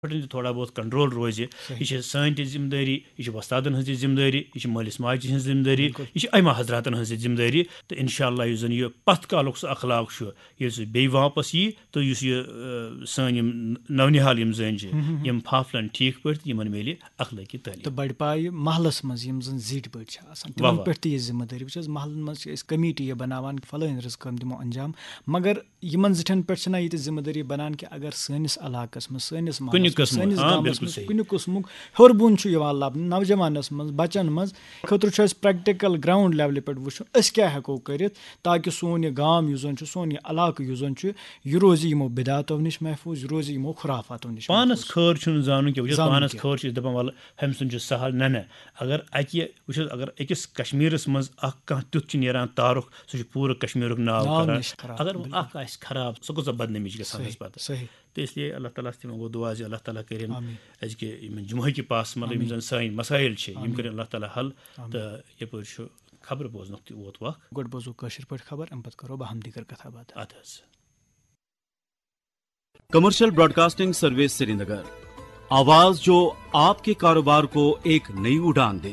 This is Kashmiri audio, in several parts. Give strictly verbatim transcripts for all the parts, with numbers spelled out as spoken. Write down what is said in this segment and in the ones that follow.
پٮ۪ٹھ تہِ تھوڑا بہت کنٹرول روزِ۔ یہِ چھِ سٲنۍ تہِ ذمہٕ دٲری، یہِ چھِ وۄستادن ہٕنٛز تہِ ذمہٕ دٲری، یہِ چھِ مٲلِس ماجہِ ہٕنٛز ذمہٕ دٲری، یہِ چھِ ائمہ حضراتن ہٕنٛز تہِ ذمہٕ دٲری۔ تہٕ انشاءاللہ یُس زن یہِ پتھ کالُک سُہ اخلاق چھُ، ییٚلہِ سُہ بیٚیہِ واپس یی تہٕ یُس یہِ، آ، سٲنۍ یِم نونِحال یِم زٔنۍ چھِ، یِم پھاپھلن ٹھیٖک پٲٹھۍ تہٕ یِمن میلہِ اخلٲقی تعلیٖم۔ تہٕ بڑِ پایہِ محلس منٛز یِم زن زِٹھۍ بٔڑۍ چھِ آسان، تِمن پٮ۪ٹھ تہِ یہِ ذمہٕ دٲری۔ وٕچھ حظ، محلن منٛز چھِ أسۍ کمیٹی یہِ بناوان، فلٲنۍ رٕژ کٲم دِمو انجام، مگر یِمن زِٹھٮ۪ن پٮ۪ٹھ چھِنہ ییٚتہِ ذمہٕ دٲری بنان کہِ اگر سٲنِس علاقس منٛز، سٲنِس محلس منٛز، سٲنِس گامس منٛز کُنہِ قٕسمُک ہیوٚر بۄن چھُ یِوان لبنہٕ نوجوانس منٛز، بچن منٛز، خٲطرٕ چھُ اَسہِ پریکٹیکل گراؤنڈ لیولہِ پٮ۪ٹھ وٕچھُن أسۍ کیٛاہ ہٮ۪کو کٔرِتھ تاکہِ سون یہِ گام یُس زن چھُ، سون یہِ علاقہٕ یُس زن چھُ، یہِ روزِ یِمو بدعاتو نِش محفوٗظ، یہِ روزِ یِمو خُرافاتو نِش پانس محفوٗظ۔ خٲر چھُنہٕ زانُن کینٛہہ، وٕچھ حظ، زانُن پانس کینٛہہ۔ خٲر چھِ أسۍ دپان، ولہٕ، ہُمۍ سُنٛد چھُ سہل۔ نہ، نہ، اگر اکہِ، وٕچھ حظ، اگر أکِس کشمیرس منٛز اکھ کانٛہہ تیُتھ چھُ نیران تارُکھ، سُہ چھُ پوٗرٕ کشمیرُک ناو ناو کران۔ نِش خراب، اگر وۄنۍ بِلکُل۔ اکھ آسہِ خراب، سُہ کۭژاہ بدنٲمی چھِ گژھان صحیح، اَسہِ پتہٕ۔ صحیح۔ تہٕ اس لیے اللہ تعالیٰ ہس تہِ وۄنۍ گوٚو دُعا زِ اللہ تعالیٰ کٔرِن آمین۔ أزکہِ یِمن جمعہ کہِ پاس، مطلب، یِم آمین۔ زن سٲنۍ مسائل چھِ، یِم آمین۔ کٔرِن اللہ تعالیٰ حل۔ آمین۔ تہٕ یپٲرۍ چھُ خبرٕ بوزنُک تہِ ووت وق۔ گۄڈٕ بوزو کٲشِر پٲٹھۍ خبر، اَمہِ پتہٕ کرو باہم دیگر کتھا باتھا۔ اَدٕ حظ۔ کمرشل براڈکاسٹنگ سروس سرینگر، آواز جو آپ کے کاروبار کو ایک نئی اڑان دے۔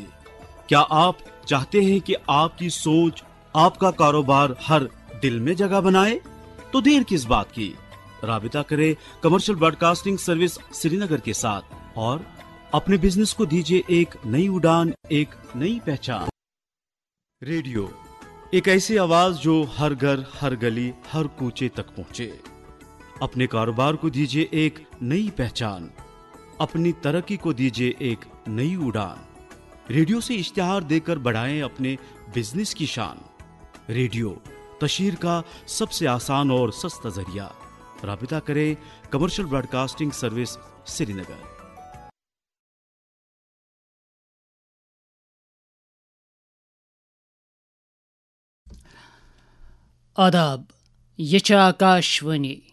کیا آپ چاہتے ہیں کہ آپ کی سوچ، آپ کا کاروبار ہر دل میں جگہ بنائے؟ تو دیر کس بات کی، رابطہ کریں کمرشل براڈکاسٹنگ سروس سرینگر کے ساتھ اور اپنے بزنس کو دیجیے ایک نئی اڑان، ایک نئی پہچان۔ ریڈیو، ایک ایسی آواز جو ہر گھر، ہر گلی، ہر کوچے تک پہنچے۔ اپنے کاروبار کو دیجیے ایک نئی پہچان، اپنی ترقی کو دیجیے ایک نئی اڑان۔ ریڈیو سے اشتہار دیکر بڑھائیں اپنے بزنس کی شان۔ ریڈیو، تشہیر کا سب سے آسان اور سستا ذریعہ۔ رابطہ کریں کمرشل براڈکاسٹنگ سروس سرینگر۔ آداب، یہ چھِ آکاشوانی۔